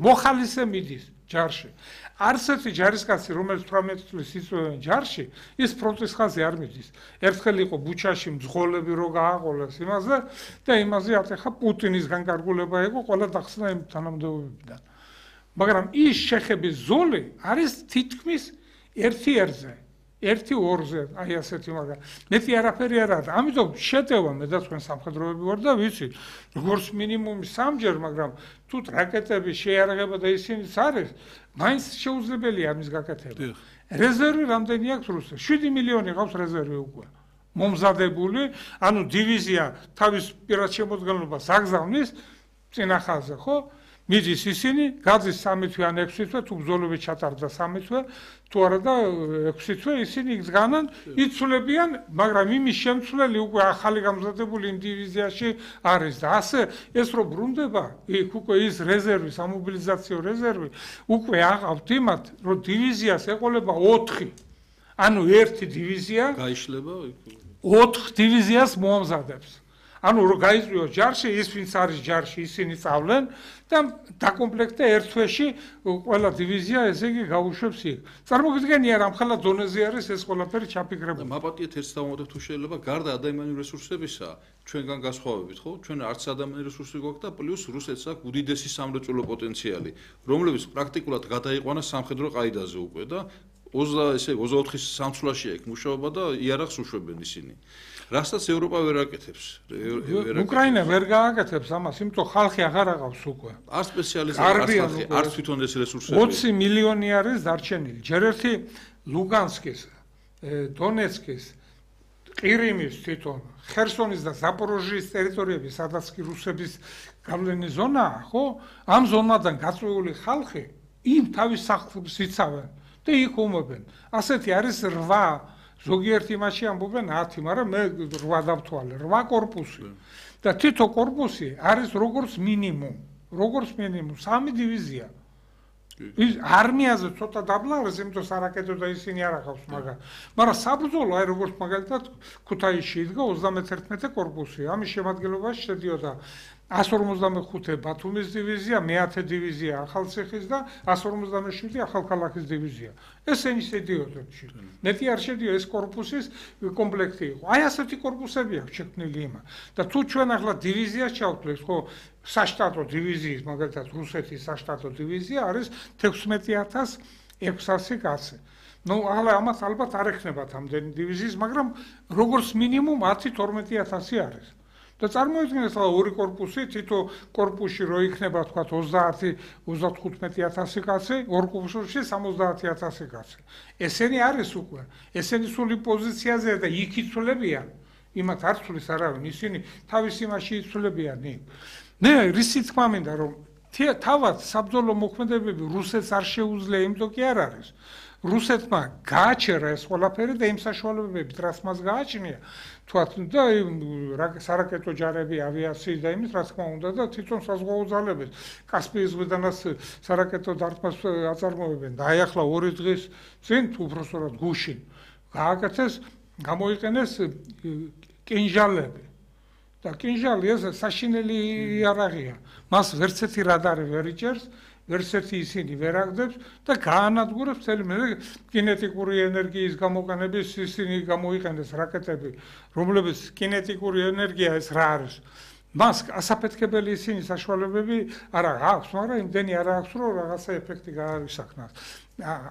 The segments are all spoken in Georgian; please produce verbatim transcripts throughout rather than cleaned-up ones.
მოხალისე მიდის ჯარში. არცერთი ჯარისკაცი, რომელიც თვრამეტი წლის იწვევენ ჯარში, ის ფრონტის ხაზზე არ მიდის. ერთხელ იყო ბუჩაში მძღოლები რო გააყოლეს იმაზე და იმაზე ატეხა პუტინის განკარგულება იყო ყველა დახსნა იმ თანამდებობებიდან. მაგრამ ის შეხების ზოლი არის თითქმის ერთი ერთზე. ერთი ორზე, აი ასეთი მაგრამ მეტი არაფერი არ არის. ამიტომ შეტევა მე და თქვენ სამხედროები ვარ და ვიცი, როგორც მინიმუმი სამჯერ, მაგრამ თუ რაკეტები შეიარაღება და ისინიც არის, მაინც შეუძლებელია ამის გაკეთება. რეზერვი რამდენი აქვს რუსეთს? შვიდი მილიონი ყავს რეზერვი უკვე. მომზადებული, ანუ დივიზია თავის პირად შემოდგენლობას აგზავნის წინა ხაზზე, ხო? მიდის ისინი, გადის სამი თვე ან ექვსი თვე, თუ ბრძოლები ჩატარდა სამი თვე, თუ არა და ექვსი თვე ისინი იგზავნან, იცვლებიან, მაგრამ იმის შემცვლელი უკვე ახალი გამზადებული იმ დივიზიაში არის და ასე ეს რო ბრუნდება, იქ უკვე ის რეზერვი, სამობილიზაციო რეზერვი, უკვე აყავთ იმათ, რომ დივიზიას ეყოლება ოთხი. ანუ ერთი დივიზია გაიშლება ოთხ დივიზიას მოამზადებს. ანუ რო გაიწვიოს ჯარში, ის ვინც არის ჯარში, ისინი წავლენ და დაკომპლექტე ერთ თვეში ყველა დივიზია ესე იგი გაუშვებს იქ. წარმოგიდგენია რა მხოლოდ დონეზე არის ეს ყველაფერი ჩაფიქრებული. მაპატიეთ ერთ დავუმატებ თუ შეიძლება, გარდა ადამიანური რესურსებისა, ჩვენგან გასხვავებით, ხო? ჩვენ არც ადამიანური რესურსი გვაქვს და პლუს რუსეთს აქვს უდიდესი სამრეწველო პოტენციალი, რომლებიც პრაქტიკულად გადაიყვანა სამხედრო ყაიდაზე უკვე და ოცდა ესე ოცდაოთხი სამცვლაში აქვს მუშაობა და იარაღს უშვებენ ისინი. რასაც ევროპა ვერ აკეთებს. უკრაინა ვერ გააკეთებს ამას, იმიტომ ხალხი აღარ აყავს უკვე. არ სპეციალიზება, არ ხალხი, არ თვითონ ეს რესურსები. ოცი მილიონი არის დარჩენილი. ჯერ ერთი ლუგანსკის, დონეცკის, ყირიმის თვითონ, ხერსონის და ზაპოროჟიის ტერიტორიები, სადაც კი რუსების გავლენის ზონაა, ხო? ამ ზონიდან გაწვეული ხალხი იმ თავის სახლებს იცავენ და იქ უმობენ. ასეთი არის რვა ზოგიერთი მასში ამბობენ ათი, მაგრამ მე რვა დავთვალე, რვა კორპუსი. და თითო კორპუსი არის როგორც მინიმუმ, როგორც მინიმუმ სამი დივიზია. ის არმიაზე ცოტა დაბლა არის, იმიტომ სარაკეტო და ისინი არ ახავს მაგას. მაგრამ საბრძოლო, აი როგორც მაგალითად ქუთაისში იდგა ოცდამეთერთმეტე კორპუსი. ამის შემადგენლობაში შედიოდა ასი ორმოცდამეხუთე ბათუმის დივიზია, მეათე დივიზია ახალციხის და ასი ორმოცდამეშვიდე ახალქალაქის დივიზია. ესენი შედიოდნენ. მეტი არ შედიო ეს კორპუსის კომპლექტი იყო. აი ასეთი კორპუსები აქვს შექმნილი იმან. და თუ ჩვენ ახლა დივიზიას ჩავთვლით, ხო, საშტატო დივიზიის, მაგალითად რუსეთის საშტატო დივიზია არის თექვსმეტი ათას ექვსასი კაცი. ნუ ახლა ამას ალბათ არ ეხნებათ ამდენი დივიზიის, მაგრამ როგორც მინიმუმ ათი თორმეტი ათასი არის. და წარმოიდგინეთ ახლა ორი კორპუსი, თითო კორპუსში რო იქნება თქვა ოცდაათი ოცდათხუთმეტი ათასი კაცი, ორ კორპუსში სამოცდაათი ათასი კაცი. ესენი არის უკვე, ესენი სული პოზიციაზე და იქ იცვლებიან, იმათ არ ცვლის არავინ, ისინი თავის იმაში იცვლებიან იქ. მე რისი თქმა მინდა რომ თავად საბრძოლო მოქმედებები რუსეთს არ შეუძლია, იმიტომ კი არ არის. რუსეთმა გააჩერა ეს ყველაფერი და იმ საშუალებებით რაც მას გააჩნია, თქვათ და სარაკეტო ჯარები, ავიაციის და იმის რა თქმა უნდა და თვითონ საზღვაო ძალები კასპიის ზღვიდანაც სარაკეტო დარტყმას აწარმოებენ და აი ახლა ორი დღის წინ თუ უბრალოდ გუშინ გააკეთეს, გამოიყენეს კინჟალები. და კინჟალი ეს საშინელი იარაღია. მას ვერც ერთი რადარი ვერ იჭერს, ვერც ერთი ისინი ვერ აგდებს და გაანადგურებს მთელი მე კინეტიკური ენერგიის გამოყენების ისინი გამოიყენეს რაკეტები, რომლებიც კინეტიკური ენერგია ეს რა არის. მას ასაფეთქებელი ისინი საშუალებები არ აქვს, მაგრამ იმდენი არ აქვს, რომ რაღაცა ეფექტი გააისახნას.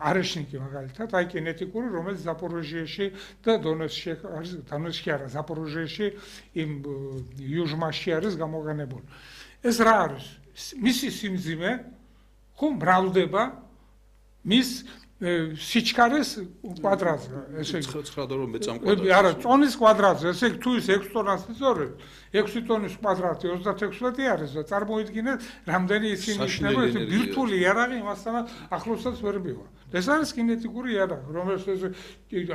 არეშნიკი მაგალითად, აი კინეტიკური, რომელიც ზაპოროჟიაში და დონეცკში არის, დონეცკში არა, ზაპოროჟიაში იმ იუჟმაში არის გამოყენებული. ეს რა არის? მისი სიმძიმე ხო მრავლდება მის სიჩქარეს კვადრატზე, ესე იგი ცხრა და რომ მეწამკვადრატზე. არა, წონის კვადრატზე, ესე იგი თუ ის ექვსი ტონას იწორებს, ექვსი ტონის კვადრატი ოცდათექვსმეტი არის და წარმოიდგინეთ, რამდენი ისინი იქნება, ეს ბირთვული იარაღი იმასთან ახლოსაც ვერ მივა. ეს არის კინეტიკური იარაღი, რომელიც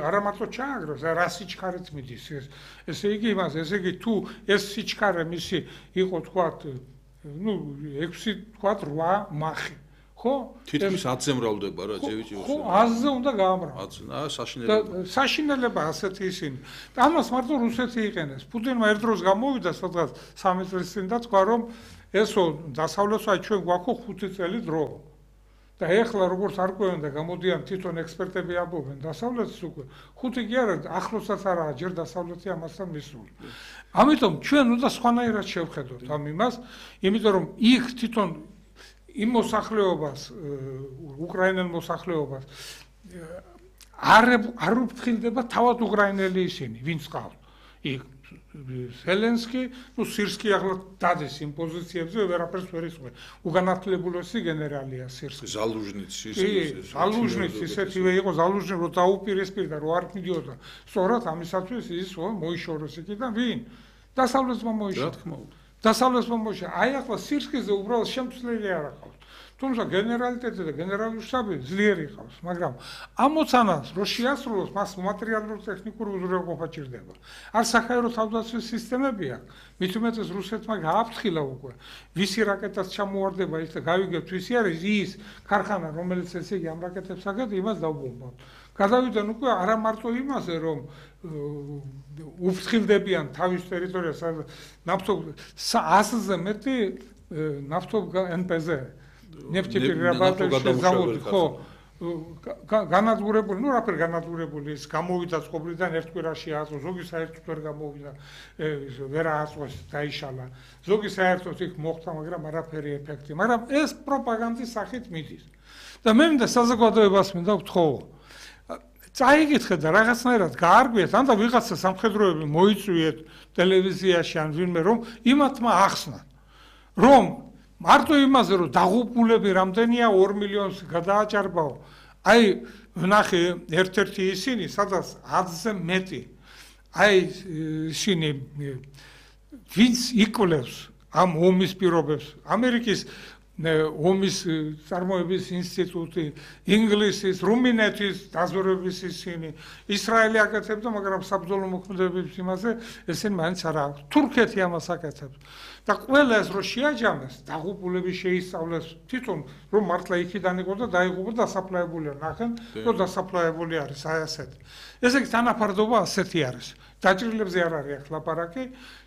არა მარტო ჩააგროს, რა სიჩქარით მიდის ეს. ესე იგი იმას, ესე იგი თუ ეს სიჩქარე მისი იყო თქვათ, ну, ექვსი თქვათ რვა მახი. ხო? თითქმის ათზე მრავლდება რა, ჯევიჭი ხო, ათზე უნდა გაამრავლოს. ათზე, აა საშინელება. საშინელება ასეთი ისინი. ამას მარტო რუსეთი იყენებს. პუტინმა ერთ დროს გამოვიდა სადღაც სამი წლის წინ და თქვა რომ ესო დასავლეთს აი ჩვენ გვაქვს ხუთი წელი დრო. და ეხლა როგორც არ ყვევენ და გამოდიან თვითონ ექსპერტები ამბობენ დასავლეთს უკვე ხუთი კი არა ახლოსაც არაა ჯერ დასავლეთი ამასთან მისული. ამიტომ ჩვენ უნდა სხვანაირად შევხედოთ ამ იმას, იმიტომ რომ იქ თვითონ იმ მოსახლეობას უკრაინელ მოსახლეობას არ არ უფრთხილდება თავად უკრაინელი ისინი, ვინც ყავს. იქ ზელენსკი, ну სირსკი ახლა დადეს იმ პოზიციებზე ვერაფერს ვერ იცვლება. უგანათლებულესი გენერალია სირსკი. ზალუჟნიცი ის ზალუჟნიცი ისეთივე იყო ზალუჟნი რო დაუპირისპირდა რო არ მიდიოდა. სწორად ამისათვის ის მოიშორეს იქიდან ვინ? დასავლეთმა მოიშორა. დასავლეთმა მოიშორა. აი ახლა სირსკიზე უბრალოდ შემცვლელი არ აქვს. თუმცა გენერალიტეტი და გენერალური შტაბი ძლიერი ყავს, მაგრამ ამ მოცანას რო შეასრულოს, მას მატერიალურ ტექნიკური უზრუნველყოფა ჭირდება. არ საჰაერო თავდაცვის სისტემები აქვს. მით უმეტეს რუსეთმა გააფრთხილა უკვე. ვისი რაკეტას ჩამოواردება ის და გავიგებთ ვისი არის ის ქარხანა, რომელიც ესე იგი ამ რაკეტებს აკეთებს, იმას დავბომბავთ. გადავიდნენ უკვე არა მარტო იმაზე, რომ უფრთხილდებიან თავის ტერიტორიას, ნავთობ ასზე მეტი ნავთობ ენ პე ზე ნეფტიპირაბადებში ზავოდი ხო განადგურებული, ну რაფერ განადგურებული ის გამოვიდა წყობრიდან ერთ კვირაში აწვო, ზოგი საერთოდ ვერ გამოვიდა, ვერ ააწვეს, დაიშალა. ზოგი საერთოდ იქ მოხდა, მაგრამ არაფერი ეფექტი, მაგრამ ეს პროპაგანდის სახით მიდის. და მე მინდა საზოგადოებას მინდა ვთხოვო. წაიგითხეთ და რაღაცნაირად გაარგვიეთ, ან და ვიღაცა სამხედროები მოიწვიეთ ტელევიზიაში ან ვინმე რომ იმათმა ახსნათ. რომ მარტო იმაზე რომ დაღუპულები რამდენია ორ მილიონს გადააჭარბაო. აი ვნახე ერთ-ერთი ისინი, სადაც ათზე მეტი. აი ისინი ვინც იკვლევს ამ ომის პირობებს, ამერიკის ომის წარმოების ინსტიტუტი, ინგლისის, რუმინეთის დაზვერვების ისინი, ისრაელი აკეთებდა, მაგრამ საბრძოლო მოქმედებების იმაზე ესენი მაინც არ აქვს. თურქეთი ამას აკეთებს. და ყველა ეს რო შეაჯამეს, დაღუპულები შეისწავლეს თვითონ რომ მართლა იქიდან იყო და დაიღუპა დასაფლავებულია, ნახენ, რომ დასაფლავებული არის აი ასეთი. ესე იგი თანაფარდობა ასეთი არის. დაჭრილებზე არ არის ახლა ლაპარაკი,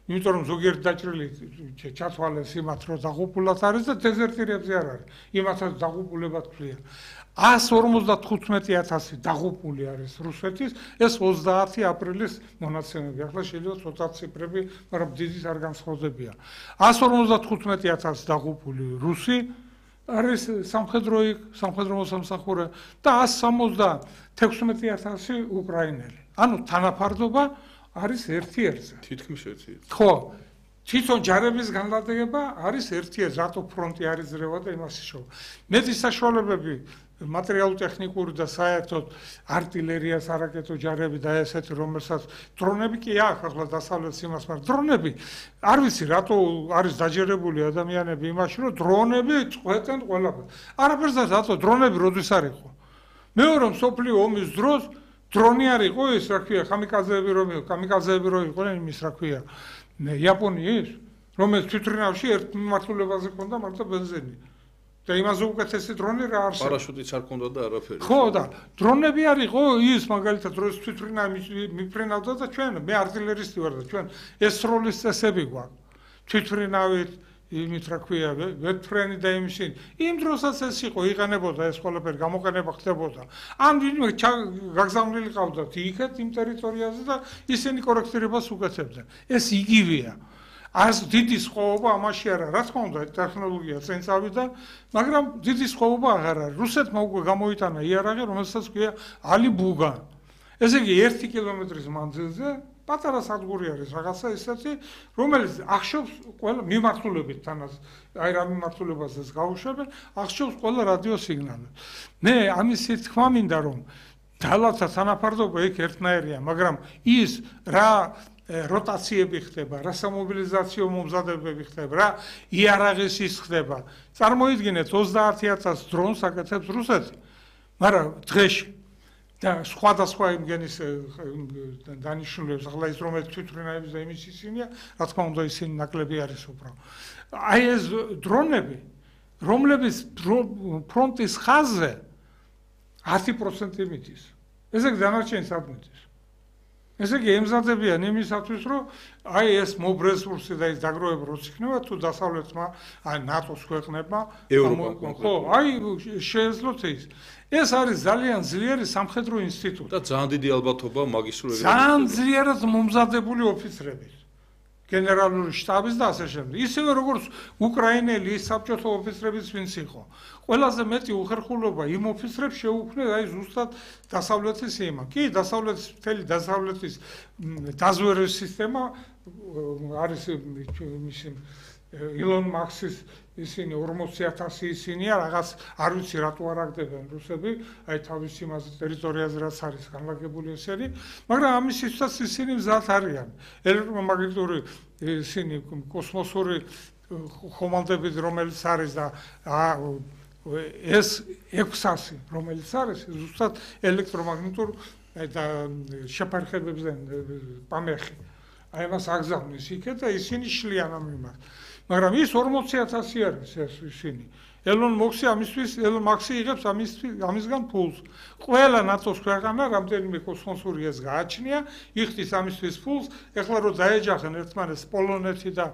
იმიტომ რომ ზოგიერთ დაჭრილი ჩათვალეს იმათ რომ დაღუპულად არის და დეზერტირებზე არ არის. იმათაც დაღუპულებად ქვია. ას ორმოცდათხუთმეტი ათასი დაღუპული არის რუსეთის, ეს ოცდაათი აპრილის მონაცემები. ახლა შეიძლება ცოტა ციფრები, მაგრამ დიდიც არ განსხვავდებიან. ას ორმოცდათხუთმეტი ათასი დაღუპული რუსი არის სამხედრო სამხედრო მოსამსახურე და ას სამოცდათექვსმეტი ათასი უკრაინელი. ანუ თანაფარდობა არის ერთი ერთზე. თითქმის ერთი ერთზე. ხო, თვითონ ჯარების განლაგება არის ერთი ერთზე, რატო ფრონტი არის ძრევა და იმას იშოვა. მეტი საშუალებები მატერიალურ-ტექნიკური და საერთოდ артиლერიას არაკეტო ჯარები და ესეთი რომელსაც დრონები კი აქვს ახლა დასავლეთს იმას, მაგრამ დრონები არ ვიცი რატო არის დაჯერებული ადამიანები იმაში, რომ დრონები წყვეტენ ყველაფერს. არაფერს და რატო დრონები როდის არ იყო. მეორე მსოფლიო ომის დროს დრონი არ იყო ის რა ქვია, კამიკაძეები რომ იყო, კამიკაძეები რომ იყვნენ იმის რა ქვია, იაპონიის, რომელიც თვითრინავში ერთ მიმართულებაზე ჰქონდა მარტო ბენზინი. და იმაზე უკეთესი დრონი რა არსებობს. პარაშუტიც არ ჰქონდა და არაფერი. ხო და დრონები არ იყო ის მაგალითად დროს თვითრინავი მიფრინავდა და ჩვენ მე артиლერისტი ვარ და ჩვენ ეს როლის წესები გვაქვს. თვითრინავით იმით რა ქვია, ვეთფრენი და იმისი. იმ დროსაც ეს იყო, იყენებოდა ეს ყველაფერი, გამოყენება ხდებოდა. ან ვინმე გაგზავნილი ყავდათ იქეთ იმ ტერიტორიაზე და ისინი კორექტირებას უკეთებდნენ. ეს იგივეა. ას დიდი სხვაობა ამაში არა, რა თქმა უნდა, ტექნოლოგია წინ წავიდა, მაგრამ დიდი სხვაობა აღარ არის. რუსეთმა უკვე გამოიტანა იარაღი, რომელსაც ქვია ალიბუგა. ესე იგი ერთი კილომეტრის მანძილზე პატარა სადგური არის რაღაცა ისეთი, რომელიც ახშობს ყველა მიმართულებით თანაც, აი რა მიმართულებაზეც გაუშვებენ, ახშობს ყველა რადიო სიგნალებს. მე ამისი თქმა მინდა რომ ძალათა თანაფარდობა იქ ერთნაირია, მაგრამ ის რა როტაციები ხდება, რა სამობილიზაციო მომზადებები ხდება, რა იარაღის ის ხდება. წარმოიდგინეთ ოცდაათი ათასი დრონს აკეთებს რუსეთი, მაგრამ დღეში და სხვადასხვა იმგენის დანიშნულებს, ახლა ის რომელიც თვითრინავების და იმის ისინია, რა თქმა უნდა ისინი ნაკლები არის უბრალოდ. აი ეს დრონები, რომლებიც ფრონტის ხაზზე ათი პროცენტი მიდის. ესე იგი დანარჩენი სად მიდის? ესე იგი ემზადებიან იმისათვის, რომ აი ეს მობ რესურსი და ეს დაგროვება როც იქნება თუ დასავლეთმა, აი ნატოს ქვეყნებმა, ხო, აი შეეძლოთ ის. ეს არის ძალიან ძლიერი სამხედრო ინსტიტუტი. და ძალიან დიდი ალბათობა მაგისტრური ძალიან ძლიერად მომზადებული ოფიცრების. გენერალური შტაბის და ასე შემდეგ. ისევე როგორც უკრაინელი საბჭოთა ოფიცრებიც ვინც იყო. ყველაზე მეტი უხერხულობა იმ ოფიცრებს შეუქმნეს აი ზუსტად დასავლეთის ემა. კი, დასავლეთის მთელი დასავლეთის დაზვერვის სისტემა არის მისი ილონ მაქსის ისინი ორმოცი ათასი ისინია, რაღაც არ ვიცი რატო არ აგდებენ რუსები, აი თავის იმაზე ტერიტორიაზე რაც არის განლაგებული ესენი, მაგრამ ამისთვისაც ისინი მზად არიან. ელექტრომაგნიტური ისინი კოსმოსური ხომალდებით რომელიც არის და ეს ექვსასი რომელიც არის ზუსტად ელექტრომაგნიტურ და შეფარხებებზე პამეხი. აი მას აგზავნის იქეთ და ისინი შლიან ამ იმას. მაგრამ ის ორმოცი ათასი არის ეს ისინი. ელონ მოქსი ამისთვის, ელონ მაქსი იღებს ამისგან ფულს. ყველა ნატოს ქვეყანა რამდენიმე კოსმოსური ეს გააჩნია, იხდის ამისთვის ფულს, ეხლა რო დაეჯახენ ერთმანეთს პოლონეთი და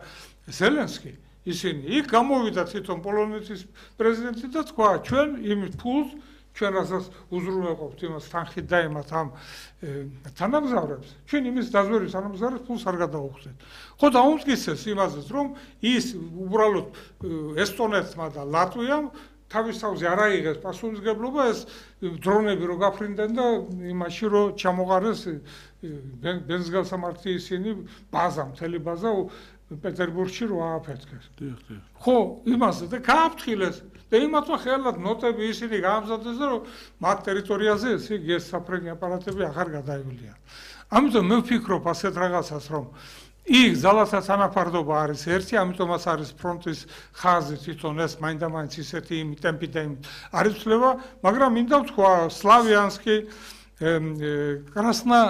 ზელენსკი, ისინი იქ გამოვიდა თვითონ პოლონეთის პრეზიდენტი და თქვა, ჩვენ იმ ფულს ჩვენ რასაც უზრუნველყოფთ იმას თანხით დაემათ ამ თანამგზავრებს, ჩვენ იმის დაზვერვის თანამგზავრებს ფულს არ გადაუხდეთ. ხო დაუმტკიცეს იმაზეც, რომ ის უბრალოდ ესტონეთმა და ლატვიამ თავის თავზე არ აიღეს პასუხისმგებლობა ეს დრონები რო გაფრინდნენ და იმაში რო ჩამოყარეს ბენზგალსამართი ისინი ბაზა, მთელი ბაზა პეტერბურგში რო ააფეთქეს. ხო, იმაზე და გააფრთხილეს და იმათმა ხელად ნოტები ისინი გაამზადეს და რომ მათ ტერიტორიაზე ეს იგი ეს საფრენი აპარატები აღარ გადაევლიან. ამიტომ მე ვფიქრობ ასეთ რაღაცას, რომ იქ ძალათა თანაფარდობა არის ერთი, ამიტომაც არის ფრონტის ხაზი თვითონ ეს მაინდა-მაინც ისეთი იმ ტემპით და იმ არ იცვლება, მაგრამ მინდა ვთქვა სლავიანსკი, კრასნა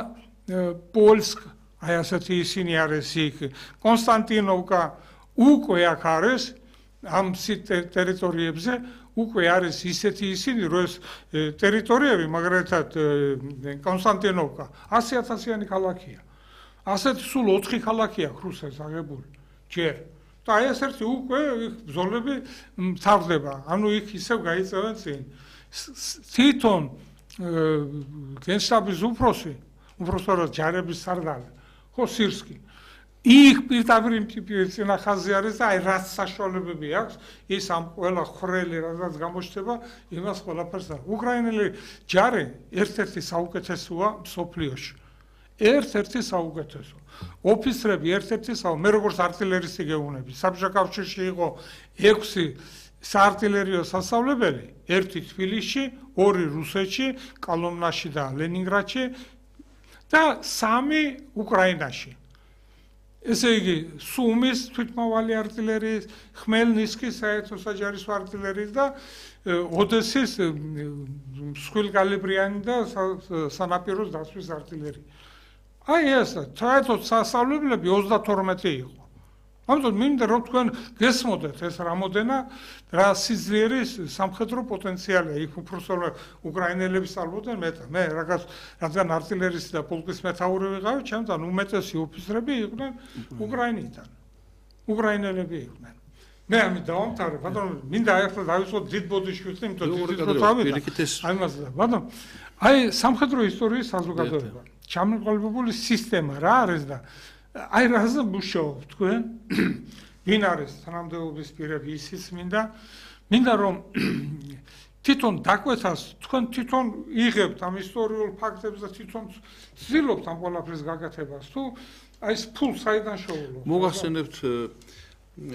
პოლსკ, აი ასეთი ისინი არის იქ, კონსტანტინოვკა უკვე აქ არის ამ ტერიტორიებზე უკვე არის ისეთი ისინი, რომ ეს ტერიტორიები, მაგალითად კონსტანტინოვკა ასი ათასიანი ქალაქია. ასეთი სულ ოთხი ქალაქია რუსეთს აღებული ჯერ. და აი ეს ერთი უკვე ბრძოლები მთავრდება. ანუ იქ ისევ გაიწევენ წინ. თვითონ გენშტაბის უფროსი, უფროსად ჯარების სარდალი, ხო სირსკი. იქ პირდაპირ წინახაზი არის და აი რაც საშუალებები აქვს, ის ამ ყველა ხრელი რაც გამოჩნდება, იმას ყველაფერს და უკრაინელი ჯარი ერთ-ერთი საუკეთესოა მსოფლიოში. ერთ-ერთი საუკეთესო. ოფიცრები ერთ-ერთი საუკეთესო, მე როგორც артиლერისტი გეუბნები, საბჭოთა კავშირში იყო ექვსი საარტილერიო სასწავლებელი, ერთი თბილისში, ორი რუსეთში, კოლომნაში და ლენინგრადში და სამი უკრაინაში. ესე იგი, სუმის თვითმავალი артиლერიის, ხმელნისკის საერთო საჯარისო артиლერიის და ოდესის მსხვილკალიბრიანი და სანაპიროს დასვლის артиლერია. აი ეს საერთოდ სასწავლებლები ოცდათორმეტი იყო. ამიტომ მინდა რომ თქვენ გესმოდეთ ეს რამოდენა რა სიძლიერე სამხედრო პოტენციალია იქ უბრალოდ უკრაინელები სწავლობდნენ მეტ მე რაღაც რადგან артиლერისტი და პოლკის მეთაური ვიყავი ჩემთან უმეტესი ოფიცრები იყვნენ უკრაინიდან უკრაინელები იყვნენ მე ამით დავამთავრე ბატონო მინდა ახლა დავიწყოთ დიდ ბოდიშვილს იმიტომ რომ აი მასა ბატონო აი სამხედრო ისტორიის საზოგადოება ჩამოყალიბებული სისტემა რა არის და აი რაზე მუშაობ თქვენ ვინ არის თანამდებობის პირები ისიც მინდა მინდა რომ თვითონ დაკვეთას თქვენ თვითონ იღებთ ამ ისტორიულ ფაქტებს და თვითონ ცდილობთ ამ ყველაფრის გაკეთებას თუ აი ეს ფულს საიდან შოულობთ მოგახსენებთ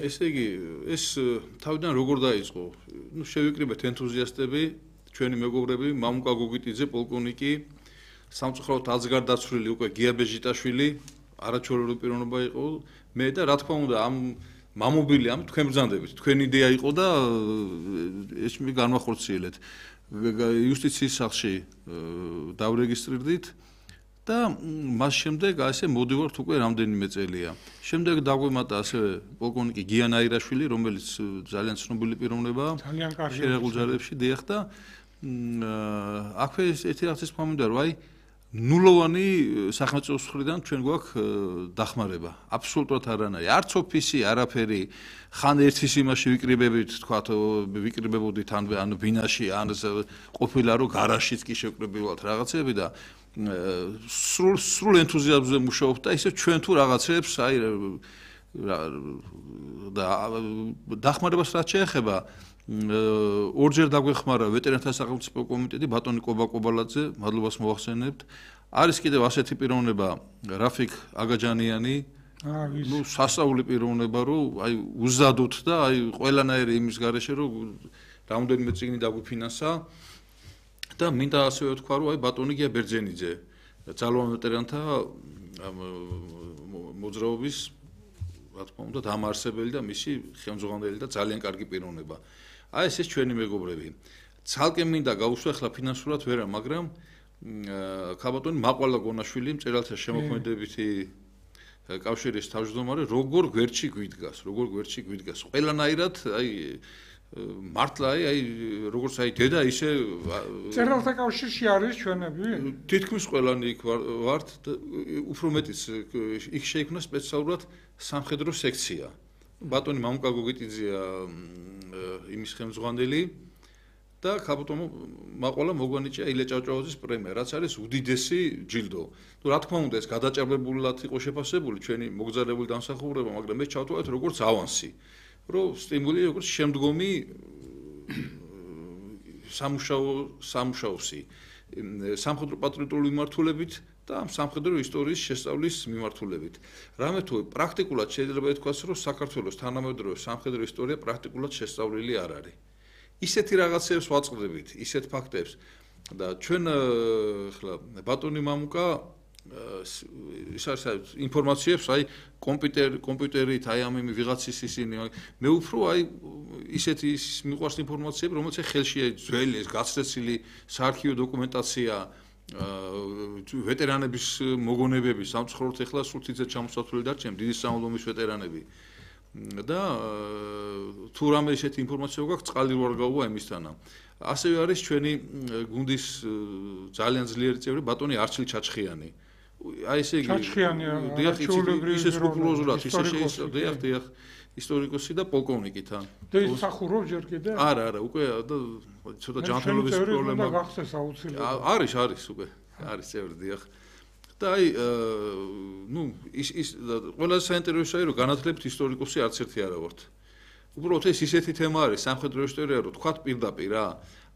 ესე იგი ეს თავიდან როგორ დაიწყო ნუ შევიკრიბეთ ენთუზიასტები ჩვენი მეგობრები მამუკა გოგიტიძე პოლკოვნიკი სამწუხაროდ აზგარდაცვლილი უკვე გია ბეჟიტაშვილი არაჩვეულებრივი პიროვნება იყო მე და რა თქმა უნდა ამ მამობილი ამ თქვენ ბრძანდებით თქვენი იდეა იყო და ეს მე განვახორციელეთ იუსტიციის სახლში დავრეგისტრირდით და მას შემდეგ ასე მოდივართ უკვე რამდენიმე წელია შემდეგ დაგვემატა ასევე პოლკოვნიკი გიან აირაშვილი რომელიც ძალიან ცნობილი პიროვნებაა ძალიან კარგი შერეულ ჯარებში დიახ და აქვე ერთი რაღაცის მომენტია რომ აი ნულოვანი სახელმწიფოს მხრიდან ჩვენ გვაქვს დახმარება. აბსოლუტურად არანაირი. არც ოფისი, არაფერი. ხან ერთის იმაში ვიკრიბებით, თქვათ, ვიკრიბებოდით ან ან ბინაში, ან ყოფილა რომ გარაჟშიც კი შევკრიბებულად რაღაცები და სრულ სრულ ენთუზიაზმზე მუშაობთ და ისე ჩვენ თუ რაღაცებს, აი და დახმარებას რაც შეეხება ორჯერ დაგვეხმარა ვეტერანთა სახელმწიფო კომიტეტი ბატონი კობა კობალაძე, მადლობას მოვახსენებთ. არის კიდევ ასეთი პიროვნება რაფიკ აგაჯანიანი, ნუ სასწაული პიროვნება, რომ აი უზადოთ და აი ყველანაირი იმის გარეშე რომ რამოდენიმე წიგნი დაგვიფინანსა და მინდა ასევე ვთქვა, რომ აი ბატონი გია ბერძენიძე, ძალოვან ვეტერანთა მოძრაობის რა თქმა უნდა დამაარსებელი და მისი ხელმძღვანელი და ძალიან კარგი პიროვნება. აი ეს ჩვენი მეგობრები. ცალკე მინდა გავუსვა ახლა ფინანსურად ვერა, მაგრამ ქაბატონი მაყვალა გონაშვილი მწერალთა შემოქმედებითი კავშირის თავმჯდომარე როგორ გვერდში გვიდგას, როგორ გვერდში გვიდგას. ყველანაირად აი მართლა აი აი როგორც აი დედა ისე მწერალთა კავშირში არის ჩვენები? თითქმის ყველანი იქ ვართ, უფრო მეტიც იქ შეიქმნა სპეციალურად სამხედრო სექცია. ბატონი მამუკა გოგიტიძეა იმის ხელმძღვანელი და ქაბატონო მაყვალა მოგვანიჭია ილე ჭავჭავაძის პრემია, რაც არის უდიდესი ჯილდო. ნუ რა თქმა უნდა ეს გადაჭარბებულად იყო შეფასებული ჩვენი მოგზაურებული დამსახურება, მაგრამ ეს ჩავთვალეთ როგორც ავანსი, რომ სტიმული როგორც შემდგომი სამუშაო სამუშაოსი სამხედრო პატრიოტული მიმართულებით და სამხედრო ისტორიის შესწავლის მიმართულებით. რამე თუ პრაქტიკულად შეიძლება ითქვას, რომ საქართველოს თანამედროვე სამხედრო ისტორია პრაქტიკულად შესწავლილი არ არის. ისეთი რაღაცებს ვაწყდებით, ისეთ ფაქტებს და ჩვენ ახლა ბატონი მამუკა ის არის ინფორმაციებს, აი კომპიუტერ კომპიუტერით, აი ამ იმი ვიღაცის ისინი, მე უფრო აი ისეთი მიყვარს ინფორმაციები, რომელიც ხელშია ძველი ეს გაცდაცილი საარქივო დოკუმენტაცია ვეტერანების მოგონებები, სამწუხაროდ ახლა სულ თითზე ჩამოსათვლელი დარჩენ დიდი სამამულოს ვეტერანები. და თუ რამე ისეთი ინფორმაცია გვაქვს, წყალი რო არ გაუვა იმისთანა. ასევე არის ჩვენი გუნდის ძალიან ძლიერი წევრი ბატონი არჩილ ჩაჩხიანი. აი ესე იგი ჩაჩხიანია, ისე სკრუპულოზურად, ისე შეიძლება, დიახ, დიახ, ისტორიკოსი და პოლკოვნიკი თან. და ის სახურობს ჯერ კიდე? არა, არა, უკვე და ცოტა ჯანმრთელობის პრობლემა გახსეს აუცილებლად. არის, არის უკვე, არის წევრი, დიახ. და აი ნუ ის ის ყველაზე საინტერესოა რომ განათლებით ისტორიკოსი არც ერთი არა ვართ. უბრალოდ ეს ისეთი თემა არის სამხედრო ისტორია რომ თქვათ პირდაპირ რა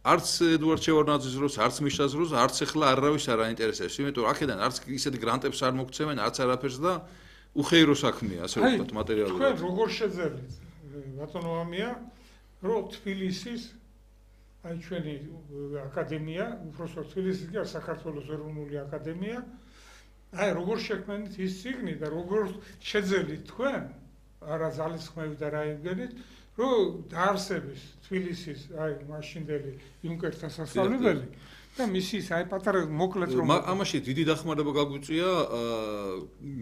არც ედუარდ შევარდნაძის დროს არც მიშას დროს არც ახლა არავის არ აინტერესებს იმიტომ რომ აქედან არც ისეთი გრანტებს არ მოგცემენ არც არაფერს და უხეირო საქმეა ასე ვთქვათ მატერიალურად. თქვენ როგორ შეძლებთ ბატონო ამია რომ თბილისის აი ჩვენი აკადემია უბრალოდ თბილისის კი საქართველოს ეროვნული აკადემია აი როგორ შექმნით ის ციგნი და როგორ შეძელით თქვენ არა ძალისხმევით და რა იმგენით რომ დაარსების თბილისის აი მაშინდელი იუნკერთა სასწავლებელი და მისის აი პატარა მოკლედ რომ ამაში დიდი დახმარება გაგვიწია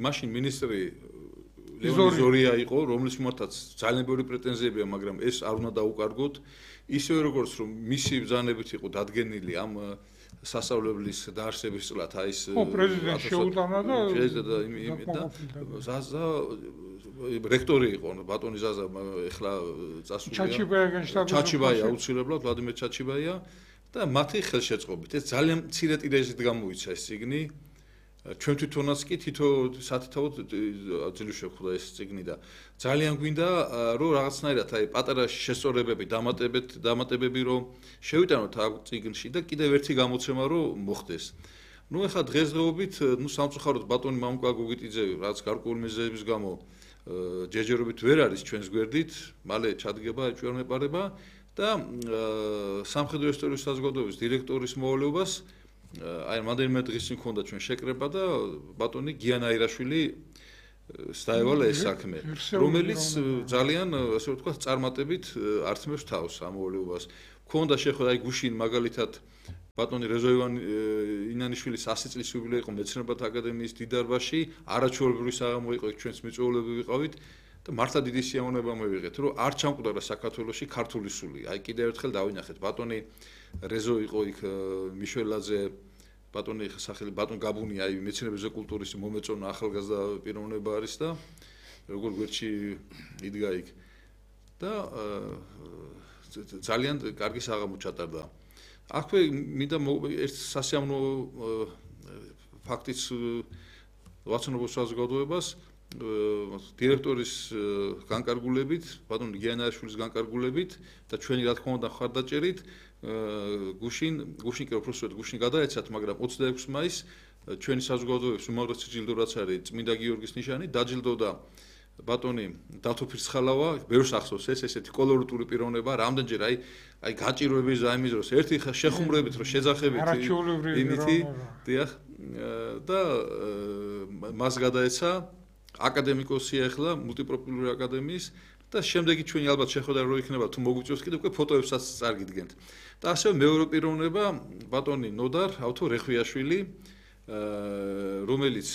მაშინ მინისტრი ლეონიდ ზორია იყო რომლის მიმართაც ძალიან ბევრი პრეტენზიებია მაგრამ ეს არ უნდა დაუკარგოთ ისევე როგორც რომ მისი ბრძანებით იყო დადგენილი ამ სასწავლებლის დაარსების წლად აი ეს ო პრეზიდენტი შეუტანა და და იმით და ზაზა რექტორი იყო ბატონი ზაზა ეხლა წასულია ჩაჩიბაია განშტაბი ჩაჩიბაია აუცილებლად ვლადიმერ ჩაჩიბაია და მათი ხელშეწყობით ეს ძალიან მცირე ტირაჟით გამოიცა ეს ციგნი ჩვენ თვითონაც კი თითო სათითაოდ ძლივ შევხვდა ეს ციგნი და ძალიან გვინდა რომ რაღაცნაირად აი პატარა შესწორებები დამატებით დამატებები რომ შევიტანოთ ამ ციგნში და კიდევ ერთი გამოცემა რომ მოხდეს ნუ ეხლა დღესდღეობით ნუ სამწუხაროდ ბატონი მამუკა გოგიტიძე რაც გარკვეული მიზეზების გამო ჯერჯერობით ვერ არის ჩვენს გვერდით მალე ჩადგება ჩვენ მეპარება და სამხედრო ისტორიის საზოგადოების დირექტორის მოვალეობას აი მანდელმე დღის მქონდა ჩვენ შეკრება და ბატონი გიანა ირაშვილი დაევალა ეს საქმე რომელიც ძალიან ასე ვთქვათ წარმატებით ართმევს თავს ამ მოვალეობას მქონდა შეხვედრა აი გუშინ მაგალითად ბატონი რეზოივან ინანიშვილის ასი წლის იუბილეა იყო მეცნიერებათა აკადემიის დიდარბაში არაჩვეულებრივი საღამო იყო ჩვენს მიწვეულები ვიყავით და მართლა დიდი სიამოვნება მივიღეთ რომ არ ჩამკვდარა საქართველოში ქართული სული აი კიდევ ერთხელ დავინახეთ ბატონი რეზო იყო იქ მიშველაძე ბატონი სახელი ბატონ გაბუნი აი მეცნიერებისა და კულტურის მომეწონა ახალგაზრდა პიროვნება არის და როგორ გვერდში იდგა იქ და ძალიან კარგი საღამო ჩატარდა. აქვე მინდა ერთ სასიამოვნო ფაქტიც ვაცნობ საზოგადოებას დირექტორის განკარგულებით, ბატონ გიანაშვილის განკარგულებით და ჩვენი რა თქმა უნდა ხარდაჭერით გუშინ გუშინ კი უბრალოდ გუშინ გადაეცათ, მაგრამ ოცდაექვსი მაისს ჩვენი საზოგადოების უმაღლესი ჯილდო რაც არის წმინდა გიორგის ნიშანი დაჯილდოვდა ბატონი დათო ფირცხალავა, ბევრს ახსოვს ეს ესეთი კოლორიტული პიროვნება, რამდენჯერ აი აი გაჭირვების ზაიმის დროს ერთი შეხუმრებით რომ შეძახებით იმითი, დიახ და მას გადაეცა აკადემიკოსი ახლა მულტიპროფილური აკადემიის და შემდეგი ჩვენი ალბათ შეხვედრა რო იქნება თუ მოგვიწევს კიდე უკვე ფოტოებსაც წარგიდგენთ. და ასევე მეორე პიროვნება ბატონი ნოდარ ავთო რეხვიაშვილი, რომელიც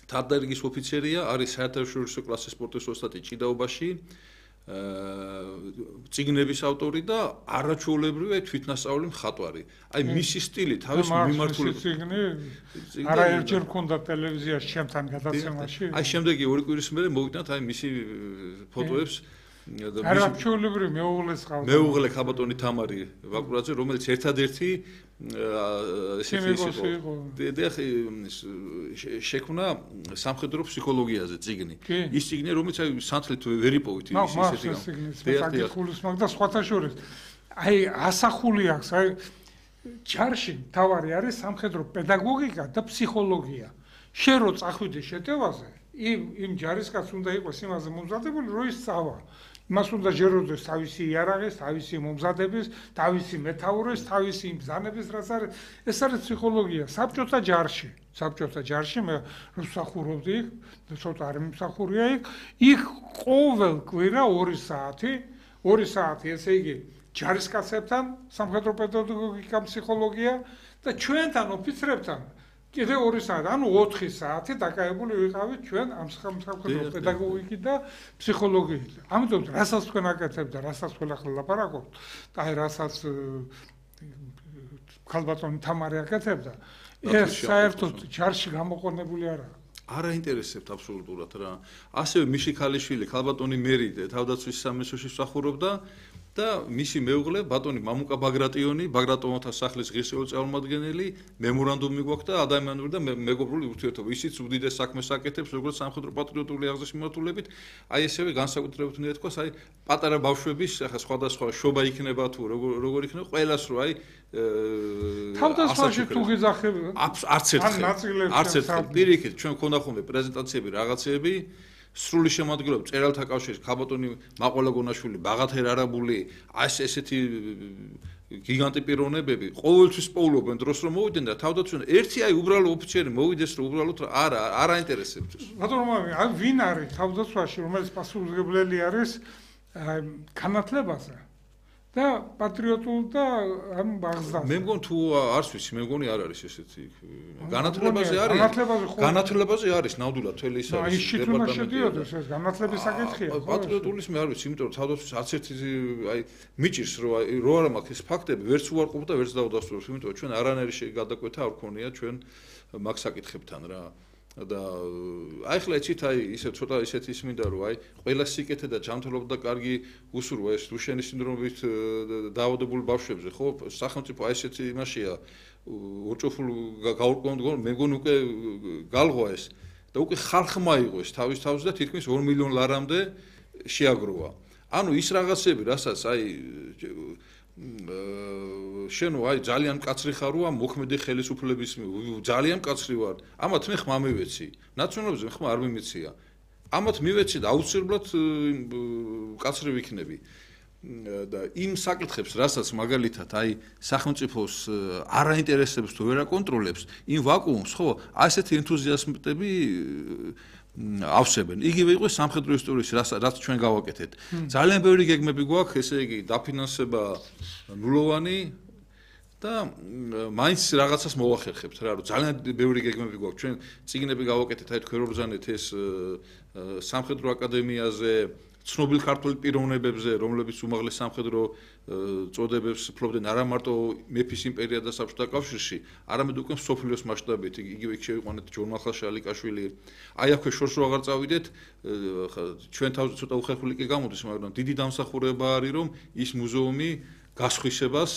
თარდარიგის ოფიცერია, არის საერთაშორისო კლასის სპორტის ოსტატი ჭიდაობაში, წიგნების ავტორი და არაჩვეულებრივი თვითნასწავლი მხატვარი. აი მისი სტილი თავის მიმართულებით წიგნი არაერთჯერ მქონდა ტელევიზიაში ჩემთან გადაცემაში. აი შემდეგი ორი კვირის მერე მოვიდათ აი მისი ფოტოებს არაჩვეულებრივი მეუღლეს ყავს. მეუღლე ხაბატონი თამარი ვაკურაძე, რომელიც ერთადერთი ესეთი იყო. დიახ, შექმნა სამხედრო ფსიქოლოგიაზე წიგნი. ის წიგნი, რომელიც აი სანთლით ვერ იპოვით ის ესეთი გამ. ხულის მაგ და სხვათა შორის. აი ასახული აქვს, აი ჯარში თავარი არის სამხედრო პედაგოგიკა და ფსიქოლოგია. შენ რო წახვიდე შეტევაზე, იმ იმ ჯარისკაც უნდა იყოს იმაზე მომზადებული, რომ ის წავა. იმას უნდა ჯეროდეს თავისი იარაღის, თავისი მომზადების, თავისი მეთაურის, თავისი ბრძანების, რაც არის, ეს არის ფსიქოლოგია. საბჭოთა ჯარში, საბჭოთა ჯარში მე მსახურობდი იქ, ცოტა არ მიმსახურია იქ, იქ ყოველ კვირა ორი საათი, ორი საათი, ესე იგი, ჯარისკაცებთან სამხედრო პედაგოგიკა, ფსიქოლოგია და ჩვენთან ოფიცრებთან კიდე ორი საათი, ანუ ოთხი საათი დაკავებული ვიყავით ჩვენ ამ სამხედრო პედაგოგიკით და ფსიქოლოგიით. ამიტომ რასაც თქვენ აკეთებთ და რასაც თქვენ ახლა ლაპარაკობთ, და აი რასაც ქალბატონი თამარი აკეთებდა, ეს საერთოდ ჯარში გამოყენებული არაა. არ აინტერესებთ აბსოლუტურად რა. ასევე მიში ქალიშვილი, ქალბატონი მერი თავდაცვის სამინისტროში მსახურობდა და მისი მეუღლე ბატონი მამუკა ბაგრატიონი, ბაგრატონთა სახლის ღირსეული წარმომადგენელი, მემორანდუმი გვაქვს და ადამიანური და მეგობრული ურთიერთობა. ისიც უდიდეს საქმეს აკეთებს, როგორც სამხედრო პატრიოტული აღზრდის მიმართულებით, აი ესევე განსაკუთრებით უნდა ითქვას, აი პატარა ბავშვების, ახლა სხვადასხვა შობა იქნება თუ როგორ როგორ იქნება, ყველას რო აი თავდასხმაში თუ გიძახები, არც ერთხელ, არც ერთხელ პირიქით, ჩვენ გქონდა ხოლმე პრეზენტაციები, რაღაცეები სრული შემოადგენლობა წერალთა კავშირის ქაბატონი მაყოლა გონაშვილი, ბაღათერ არაბული, ეს ესეთი გიგანტი პიროვნებები ყოველთვის პოულობენ დროს რომ მოვიდნენ და თავდაცვენ ერთი აი უბრალო ოფიცერი მოვიდეს რომ უბრალოდ არა არ აინტერესებს. ბატონო, აი ვინ არის თავდაცვაში, რომელიც პასუხისმგებელი არის განათლებაზე და პატრიოტულ და ამ ბაღზდაზე. მე მგონი თუ არც ვიცი, მე მგონი არ არის ესეთი განათლებაზე არის. განათლებაზე არის ნამდვილად თელი ის არის. აი შით უნდა შედიოდეს ეს განათლების საკითხია. პატრიოტულის მე არ ვიცი, იმიტომ რომ თავდაცვის არც ერთი აი მიჭირს რომ აი რო არა მაქვს ეს ფაქტები, ვერც უარყოფ და ვერც დავდასტურებ, იმიტომ რომ ჩვენ არანაირი გადაკვეთა არ ქონია ჩვენ მაგ საკითხებთან რა. და აი ხლა ეცით აი ისე ცოტა ისეთი ის მინდა რომ აი ყველა სიკეთე და ჯანმრთელობა და კარგი უსურვა ეს დუშენის სინდრომით დაავადებული ბავშვებზე ხო სახელმწიფო აი ესეთი იმაშია უჭოფულ გაურკვევლად მე მგონი უკვე გალღვა ეს და უკვე ხალხმა იყო ეს თავის თავზე და თითქმის ორ მილიონ ლარამდე შეაგროვა. ანუ ის რაღაცები რასაც აი შენო აი ძალიან მკაცრი ხარ ვარ მოქმედი ხელისუფლების ძალიან მკაცრი ვარ ამათ მე ხმა მივეცი ნაციონალიზმზე ხმა არ მიმეცია ამათ მივეცი და აუცილებლად მკაცრი ვიქნები და იმ საკითხებს რასაც მაგალითად აი სახელმწიფოს არ აინტერესებს თუ ვერ აკონტროლებს იმ ვაკუუმს ხო ასეთი ენთუზიასტები ავსებენ. იგივე იყო სამხედრო ისტორიის რაც ჩვენ გავაკეთეთ. ძალიან ბევრი გეგმები გვაქვს, ესე იგი დაფინანსება ნულოვანი და მაინც რაღაცას მოვახერხებთ რა, რომ ძალიან ბევრი გეგმები გვაქვს. ჩვენ წიგნები გავაკეთეთ, აი თქვენ რო ბრძანეთ ეს სამხედრო აკადემიაზე, ცნობილ ქართული პიროვნებებზე, რომლებიც უმაღლეს სამხედრო წოდებებს ფლობდნენ არა მარტო მეფის იმპერია და საბჭოთა კავშირში, არამედ უკვე მსოფლიოს მასშტაბით. იგივე იქ შევიყვანეთ ჯორმახალ შალიკაშვილი. აი აქვე შორს რო აღარ წავიდეთ, ჩვენ თავზე ცოტა უხერხული კი გამოდის, მაგრამ დიდი დამსახურება არის, რომ ის მუზეუმი გასხვისებას